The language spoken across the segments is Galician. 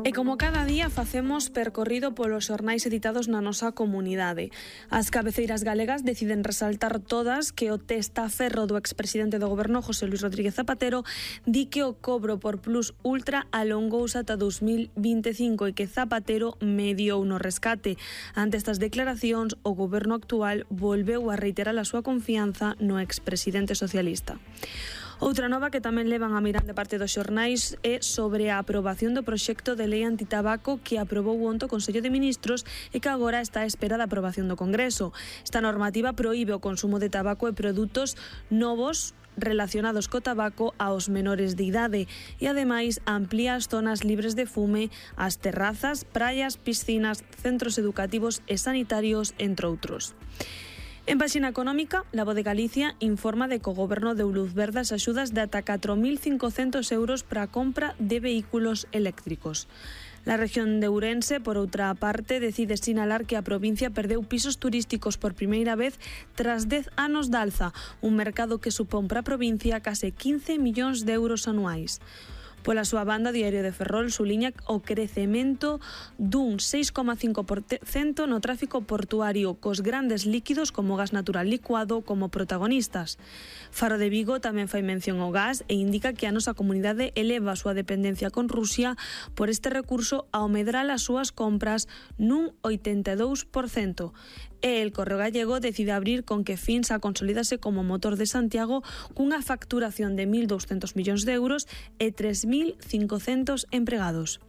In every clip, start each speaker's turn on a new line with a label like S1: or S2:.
S1: E como cada día facemos percorrido polos xornais editados na nosa comunidade. As cabeceiras galegas deciden resaltar todas que o testaferro do expresidente do goberno José Luis Rodríguez Zapatero di que o cobro por Plus Ultra alongouse ata 2025 e que Zapatero mediou no rescate. Ante estas declaracións, o goberno actual volveu a reiterar a súa confianza no expresidente socialista. Outra nova que tamén levan a mirar de parte dos xornais é sobre a aprobación do proxecto de lei antitabaco que aprobou onte o Consello de Ministros e que agora está á espera da aprobación do Congreso. Esta normativa proíbe o consumo de tabaco e produtos novos relacionados co tabaco aos menores de idade e ademais amplía as zonas libres de fume, as terrazas, praias, piscinas, centros educativos e sanitarios, entre outros. En páxina económica, La Voz de Galicia informa de que o goberno deu luz verde as axudas de ata 4.500 euros para a compra de vehículos eléctricos. La región de Ourense, por outra parte, decide sinalar que a provincia perdeu pisos turísticos por primeira vez tras 10 anos de alza, un mercado que supón para a provincia case 15 millóns de euros anuais. Pola súa banda, Diario de Ferrol suliña o crecemento dun 6,5% no tráfico portuario, cos grandes líquidos como gas natural licuado como protagonistas. Faro de Vigo tamén fai mención ao gas e indica que a nosa comunidade eleva a súa dependencia con Rusia por este recurso ao medrar as súas compras nun 82%. E El Correo Gallego decide abrir con que Finsa consolídase como motor de Santiago cunha facturación de 1.200 millóns de euros e 3.500 empregados.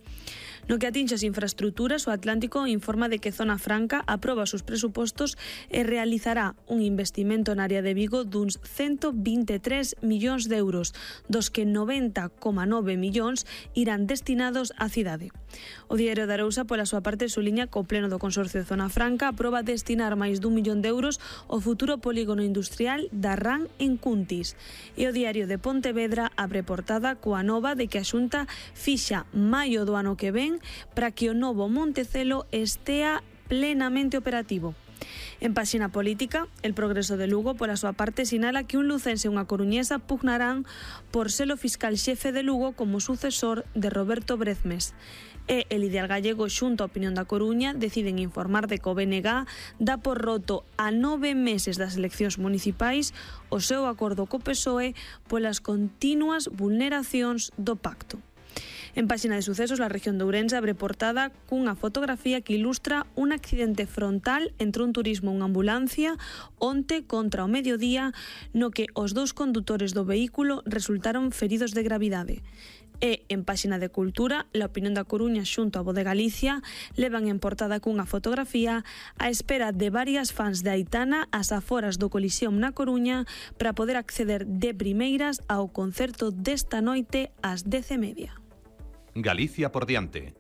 S1: No que atinxe as infraestructuras, o Atlántico informa de que Zona Franca aproba os seus presupostos e realizará un investimento na área de Vigo duns 123 millóns de euros, dos que 90,9 millóns irán destinados á cidade. O Diario de Arousa, pola súa parte, suliña que o Pleno do Consorcio de Zona Franca aproba destinar máis dun millón de euros ao futuro polígono industrial da RAN en Cuntis. E o Diario de Pontevedra abre portada coa nova de que a Xunta fixa maio do ano que ven para que o novo Montecelo estea plenamente operativo. En páxina política, El Progreso de Lugo, pola súa parte, sinala que un lucense e unha coruñesa pugnarán por ser o fiscal xefe de Lugo como sucesor de Roberto Brezmes. E El Ideal Gallego, xunto á Opinión da Coruña, deciden informar de que o BNG dá por roto a 9 meses das eleccións municipais o seu acordo co PSOE polas continuas vulneracións do pacto. En páxina de sucesos, la región de Ourense abre portada cunha fotografía que ilustra un accidente frontal entre un turismo e unha ambulancia onte contra o mediodía no que os dous condutores do vehículo resultaron feridos de gravidade. E en páxina de cultura, La Opinión da Coruña xunto a Voz de Galicia levan en portada cunha fotografía a espera de varias fans de Aitana ás aforas do Coliseum na Coruña para poder acceder de primeiras ao concerto desta noite ás 10:30.
S2: Galicia por diante.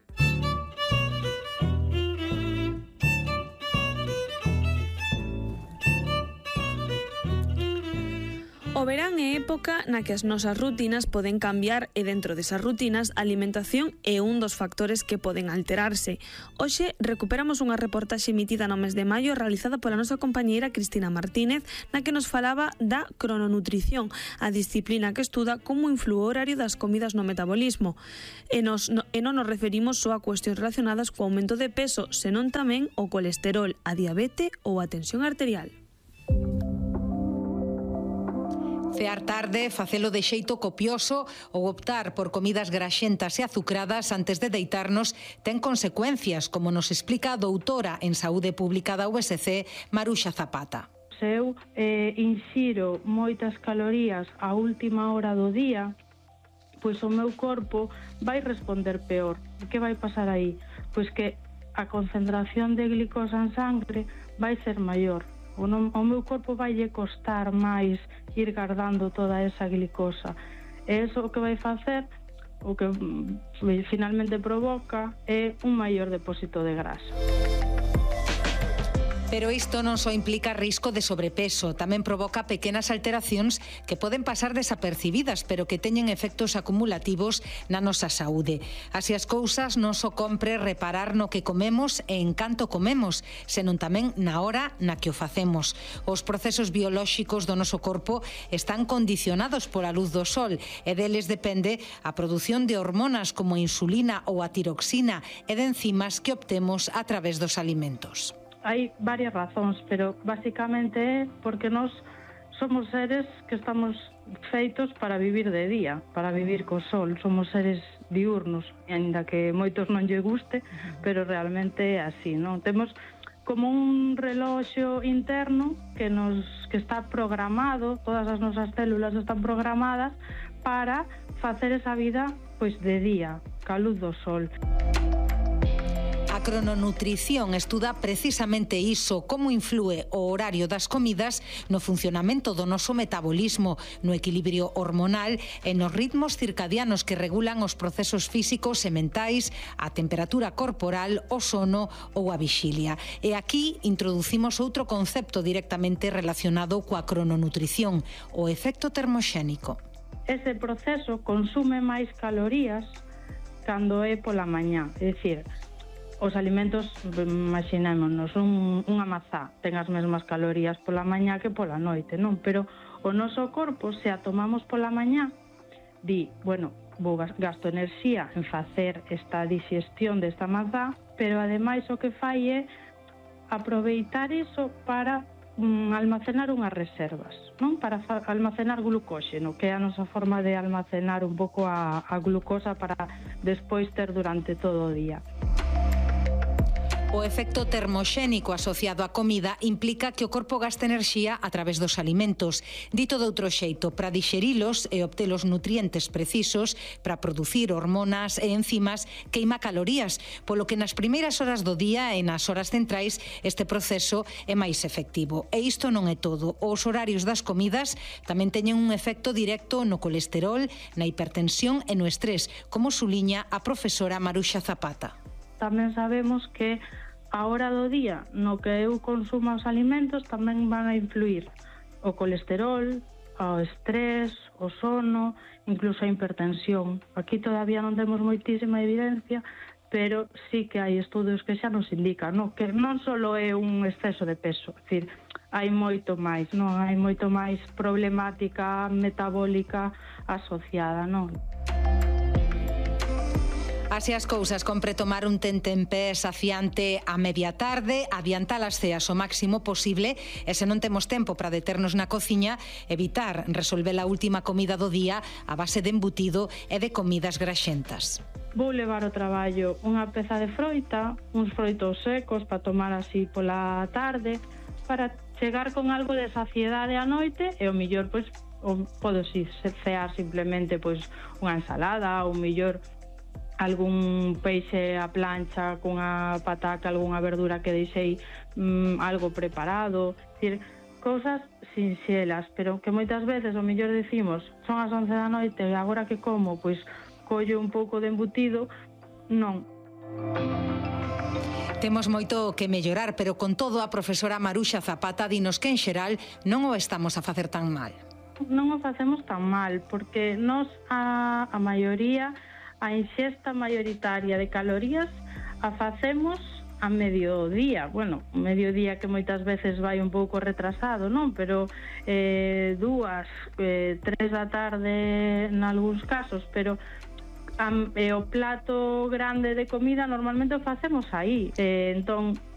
S1: O verán é época na que as nosas rutinas poden cambiar e dentro desas rutinas a alimentación é un dos factores que poden alterarse. Hoxe recuperamos unha reportaxe emitida no mes de maio realizada pola nosa compañeira Cristina Martínez na que nos falaba da crononutrición, a disciplina que estuda como inflúe o horario das comidas no metabolismo. E non nos referimos só a cuestións relacionadas co aumento de peso, senón tamén o colesterol, a diabetes ou a tensión arterial.
S3: Cear tarde, facelo de xeito copioso ou optar por comidas graxentas e azucradas antes de deitarnos ten consecuencias, como nos explica a doutora en Saúde Pública da USC, Maruxa Zapata.
S4: Se eu inxiro moitas calorías á última hora do día, pois o meu corpo vai responder peor. Que vai pasar aí? Pois que a concentración de glicosa en sangre vai ser maior. O meu corpo vai lle costar máis ir guardando toda esa glicosa. E iso o que vai facer, o que finalmente provoca, é un maior depósito de grasa.
S3: Pero isto non só implica risco de sobrepeso, tamén provoca pequenas alteracións que poden pasar desapercibidas, pero que teñen efectos acumulativos na nosa saúde. Así as cousas, non só compre reparar no que comemos e en canto comemos, senón tamén na hora na que o facemos. Os procesos biolóxicos do noso corpo están condicionados pola luz do sol e deles depende a produción de hormonas como a insulina ou a tiroxina e de enzimas que obtemos a través dos alimentos.
S4: Hai varias razóns, pero basicamente é porque nós somos seres que estamos feitos para vivir de día, para vivir co sol. Somos seres diurnos, aínda que moitos non lle guste, pero realmente é así, non? Temos como un reloxo interno que está programado, todas as nosas células están programadas para facer esa vida pois de día, ca luz do sol.
S3: A crononutrición estuda precisamente iso, como inflúe o horario das comidas no funcionamento do noso metabolismo, no equilibrio hormonal e nos ritmos circadianos que regulan os procesos físicos e mentais, a temperatura corporal, o sono ou a vixilia. E aquí introducimos outro concepto directamente relacionado coa crononutrición, o efecto termoxénico.
S4: Ese proceso consume máis calorías cando é pola mañá, é dicir, os alimentos, imaginémonos, unha mazá ten as mesmas calorías pola mañá que pola noite, non? Pero o noso corpo, se a tomamos pola mañá, di, bueno, gasto enerxía en facer esta digestión desta mazá, pero ademais o que fai é aproveitar iso para almacenar unhas reservas, non? Para almacenar glucóxeno, que é a nosa forma de almacenar un pouco a glucosa para despois ter durante todo o día.
S3: O efecto termoxénico asociado á comida implica que o corpo gaste enerxía a través dos alimentos. Dito de outro xeito, para dixerilos e obter os nutrientes precisos para producir hormonas e enzimas, queima calorías, polo que nas primeiras horas do día e nas horas centrais este proceso é máis efectivo. E isto non é todo. Os horarios das comidas tamén teñen un efecto directo no colesterol, na hipertensión e no estrés, como suliña a profesora Maruxa Zapata.
S4: Tamén sabemos que a hora do día no que eu consumo os alimentos tamén van a influir o colesterol, o estrés, o sono, incluso a hipertensión. Aquí todavía non temos moitísima evidencia, pero sí que hai estudos que xa nos indican, non? Que non só é un exceso de peso, é dicir, hai moito máis, non? Hai moito máis problemática metabólica asociada, non?
S3: Así as cousas, compre tomar un tentempié saciante a media tarde, adiantar as ceas o máximo posible e se non temos tempo para deternos na cociña, evitar resolver a última comida do día a base de embutido e de comidas graxentas.
S4: Vou levar ao traballo unha peza de froita, uns froitos secos para tomar así pola tarde, para chegar con algo de saciedade á noite e o mellor, pois, podo cear simplemente pois unha ensalada ou mellor algún peixe a plancha cunha pataca, algunha verdura que deixei algo preparado, decir, cousas sinxelas, pero que moitas veces o mellor decimos, son as 11 da noite e agora que como, pois collo un pouco de embutido, non.
S3: Temos moito que mellorar, pero con todo a profesora Maruxa Zapata dinos que en xeral non o estamos a facer tan mal.
S4: Non o facemos tan mal, porque nós a maioría a ingesta mayoritaria de calorías a facemos a mediodía. Bueno, mediodía que moitas veces vai un pouco retrasado, non? Pero 2, 3 da tarde nalgúns casos, pero o plato grande de comida normalmente o facemos aí. Entón,